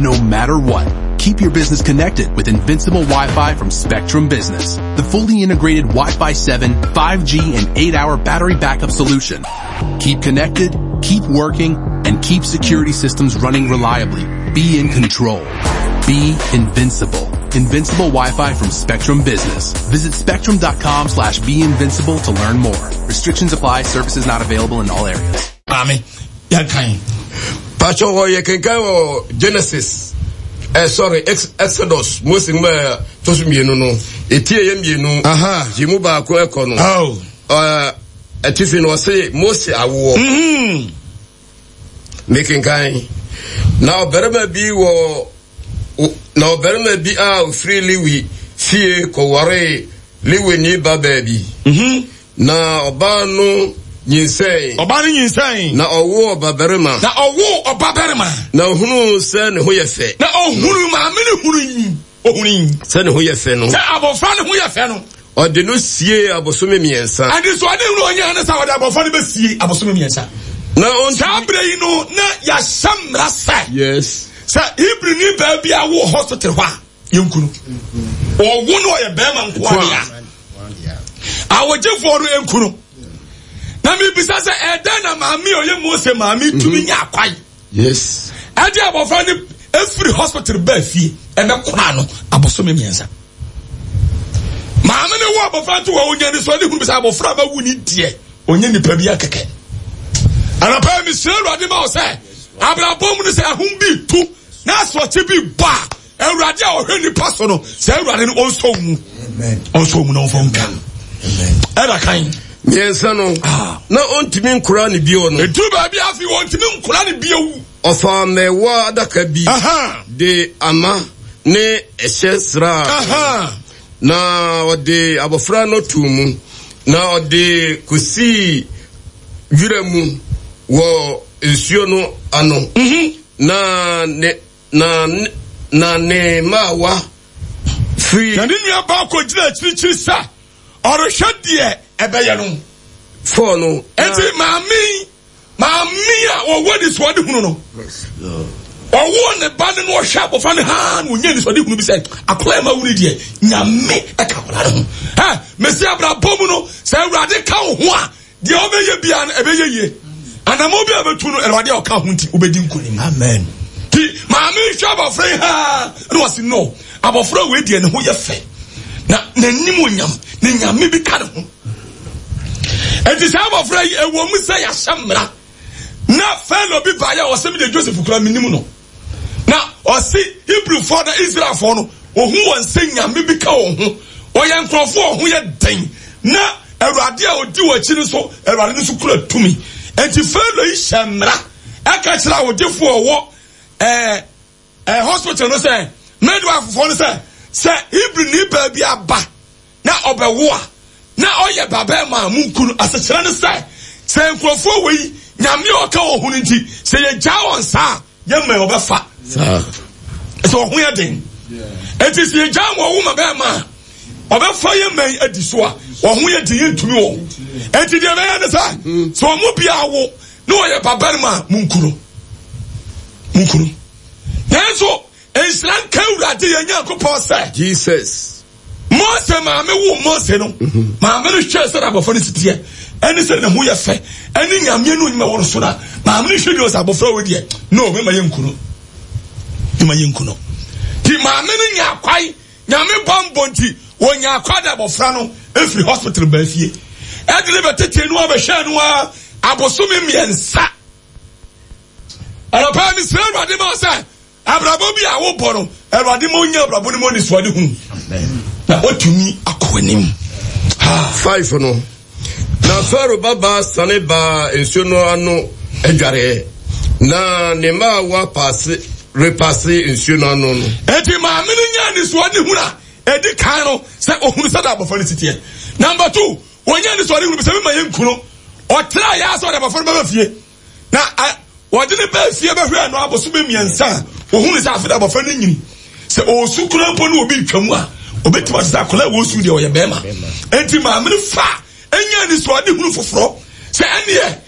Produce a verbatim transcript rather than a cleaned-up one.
no matter what. Keep your business connected with Invincible Wi-Fi from Spectrum Business. The fully integrated Wi-Fi seven, five G, and eight hour battery backup solution. Keep connected, keep working, and keep security systems running reliably. Be in control. Be invincible. Invincible Wi-Fi from Spectrum Business. Visit spectrum dot com slash be invincible to learn more. Restrictions apply. Services not available in all areas. Maame, yɛnkan. Patro, wɔ yɛ kenkan wɔ Genesis, eh, sorry, Ex Exodus, Mose nwoma a ɛtɔ so mmienu no, eti ɛyɛ mmienu, Aha. yi mu baako ɛkɔ no. Oh. Ɛɛ, atifi no ɔse Mose awoɔ. Mm-hmm. Mekenkan. Na ɔbarima bi wɔ na ɔbarima bi a ofiri Lewi fie kɔwaree Lewini babaa bi. Mm-hmm. Na ɔbaa no nyinsɛn. Ɔbaa no nyinsɛn. Na ɔwoo ɔbabarima. Na ɔwoo ɔbabarima. Na ohunuu sɛ ne ho yɛ fɛ. Na ohunu, maame no hunu yi. Ohunu yi. Sɛ ne ho yɛ fɛ no. Sɛ abɔfra ne ho yɛ fɛ no. Ɔde no siee abosome mmiɛnsa. Ɛnti so ɔde hunu ɔnyɛ ne sɛ ɔde abɔfra no bɛsie abosome mmiɛnsa. Na ɔntumi. Saa berɛ yi no na yɛahyɛ mmara sɛ. Yes. Sɛ Hebrini baa bi awo hospital hɔ a, yɛnku no. Ɔwo no ɔyɛ bɛrima nko adeɛ a, awogyefoɔ no nku no. Na mebisa sɛ ɛdɛn na maame a ɔyɛ Mose maame tumi nya akwae? Yes. Ɛde abɔfra no efiri hospital baa fie ɛbɛkora no abosome mmiɛnsa. Maame no wo abɔfra to hɔ, onya ne so ɔde hunu sɛ abɔfra ma wu ne deɛ ɔnyɛ nipa bi akɛkɛ. Anɔpa yi mesrɛ Awurade ma wo sɛ abrabɔ mu no sɛ ahom bi tu na asorɔkye bi bɔ a, Awurade a ɔhwɛ nipa so no, sɛ Awurade no ɔnsɔ wo mu, ɔnsɔ wo mu na ɔmfa wo nka. Ɛda kan. Mmiɛnsa no, Ah. na ɔntumi nkora ne bio no. Ɛduru baabi afei wɔntumi nkora ne bio. Ɔfaa mmɛwa adaka bi Aha. de ama ne ɛhyɛ sraa. Aha. Na ɔde abɔfra no too mu, na ɔde kosii wira mu wɔ nsuo no ano. Na ne na ne na ne mmaawa firi. Na ne nua baa kɔgyina akyirikyiri sɛ ɔrehwɛ deɛ ɛbɛyɛ no. Fɔɔ no. Enti maame yi, maame a ɔwɔ anisoadehunu no, ɔwɔ ne ba no na ɔhwɛ abɔfra no haa na ɔnya anisoadehunu bi sɛ akwadaa ma wuni deɛ Nyame ɛka akwadaa no ho. Ɛ mesi abrabɔ mu no, sɛ Awurade ka wo ho a, deɛ ɔbɛyɛ biara no ɛbɛyɛ yie. Anamɔ bi a bɛtu no, Awurade a ɔka ho nti wobɛdi nkonim. Amen. Ti maame hwɛ abɔfra yi haa na ɔsi no, abɔfra wei deɛ ne ho yɛ fɛ na n'anim onyam na Nyame bi ka ne ho. Enti saa abɔfra yi, ɛwɔ mu sɛ yɛahyɛ mmara na Farao bi baeɛ a ɔsɛ me deɛ Joseph kura menim no, na ɔse Hebrewfoɔ na Israelfoɔ no ɔhu wɔn sɛ Nyame bi ka wɔn ho, wɔyɛ nkurɔfoɔ a wɔn ho yɛ den, na Awurade a ɔdi wɔn akyi no nso, Awurade no nso kura tumi. Enti Farao yi hyɛ mmara ɛka kyerɛ awogyefoɔ a ɔwɔ ɛɛ ɛɛ hospital no sɛ, midwifefoɔ no sɛ, sɛ Hebrini baa bi aba na ɔbɛwo a na ɔyɛ babarima a, munku no. Asekyerɛ ne sɛ, sɛ nkurɔfoɔ wɔ yi Nyame a ɔka wɔn ho no nti, sɛ yɛgyaa wɔn saa a, yɛmma wɔbɛfa. Sɛ wɔn ho yɛ den. Enti sɛ yɛgyaa wɔn wo ma bɛrima a, ɔbɛfa yɛn mma yi adi so a, wɔn ho yɛ den, yɛntumi wɔn. Enti deɛ ɛbɛyɛ ne sɛ, sɛ wɔn mu biara wo na ɔyɛ babarima a, munku no. Munku no. Nanso, nhyira nka Awurade yɛn Nyankopɔn sɛ, Jesus. Mose maame wo Mose no, maame no hwɛɛ sɛ abɔfra no si teɛ, ɛne sɛ ne ho yɛ fɛ, ɛne Nyame no onyima wɔ no so na maame no hwɛ deɛ ɔsɛ abɔfra wɔ deɛ, no, mema yɛ nku no, mema yɛ nku no. Ti maame no nya akwae, Nyame bambɔ nti, wɔnya akwae de abɔfra no efiri hospital baa fie. Ɛde ne bɛtete no abɛhwɛ no a abosome mmiɛnsa. Anɔpa yi mesrɛ Awurade ma sɛ abrabɔ bi a wobɔ no, Awurade ma onya abrabɔ no mu anisoadehunu na watumi akɔ anim. Five no, na Farao babaa sane baa nsuo no ano adwareɛ, na ne mmaawa paase repase nsuo no ano no. Enti maame no nya anisoadehunu a edi kan no sɛ ohunu sɛ da abɔfra no si teɛ. Number two, wɔnya anisoadehunu bi sɛ mema yɛn kunu ɔtra yɛ asɛ ɔde abɔfra no bɛba fie. Na wɔde ne baa fie bɛhwɛɛ no abosome mmiɛnsa a, wɔhunu sɛ afei de abɔfra no nyini. Sɛ ɔresu koraa mpo ne obi retwa mu a, ɔbɛtumi ate sɛ akwadaa a wɔresu deɛ ɔyɛ bɛrima. Enti maame no fa ɛnya anisoadehunu foforɔ sɛ ɛneɛ